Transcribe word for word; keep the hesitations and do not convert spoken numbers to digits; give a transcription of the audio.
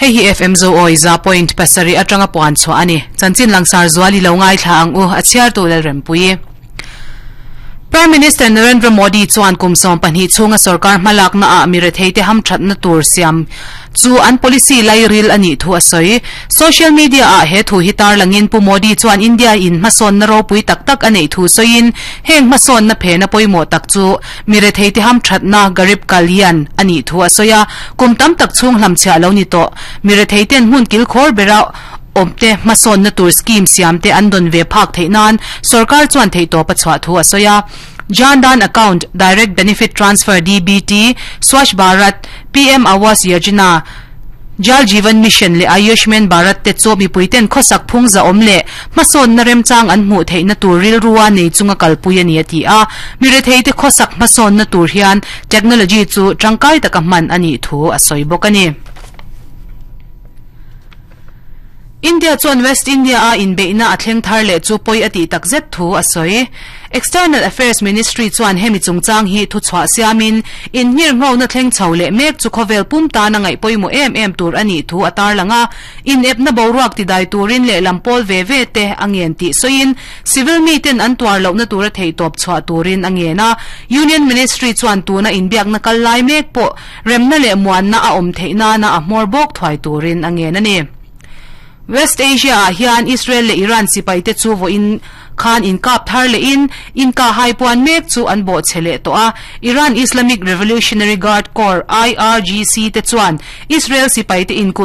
Hei hi F M Zo Awi za point pasarih atanga puan chhuah a ni. Chanchin langsar zual i lo ngaithla ang u, a chhiartu Lalrempuii. Prime Minister Narendra Modi chuan kum sawm pahnih chhunga sorkar hmalakna ah miretheite hamthatna tur siam chu an policy lairil a nih thu a sawi. Social media ah he thu hi tarlangin Pu Modi chuan India in hmasawnna ropui tak tak a neih thu sawiin heng hmasawnna phena pawimawh tak chu miretheite hamthatna Garib Kalyan a nih thu a sawi a. Kum tam tak chhung hlamchhiah lo ni tawh miretheiten hmun kilkhawr bera awmte hmasawnna tur scheme siamte an dawn ve phak theih nan sorkar chuan theihtawp a chhuah thu a sawi a. Jan Dhan Account, Direct Benefit Transfer, D B T, Swachh Bharat, P M Awas Yojana, Jal Jeevan Mission leh Ayushman Bharat te chu mipuiten khawsak phung za awm leh hmasawnna remchang an hmuh theihna tur rilrua nei chunga kalpui a ni a ti a. Miretheite khawsak hmasawnna tur hian technology chu tangkai taka hman a nih thu a sawi bawk a ni. India chuan West India a inbeihna a thleng thar leh chu pawi a tih tak zet thu a sawi. External Affairs Ministry chuan hemi chungchang hi thu chhuah siamin inhngir nghawna thleng chho leh mek chu khawvel pum tan a ngaih pawimawh em em tur a nih thu a tarlang a. Inepna boruak tidai turin leh lampawl ve ve te a ngen tih sawiin civil mi ten an tuar lohna tur a theihtawp chhuah turin a ngen a. Union Ministry chuan tuna inbiakna kal lai mek pawh remna leh muanna a awm theih nana a hmawr bawk thuai turin a ngen a ni. West Asia ah hian Israel leh Iran sipaite chu vawiin khan inkap thar lehin inka haipuan mek chu an bawh che leh tawh a. Iran Islamic Revolutionary Guard Corps, I R G C, te chuan Israel sipaite inkulh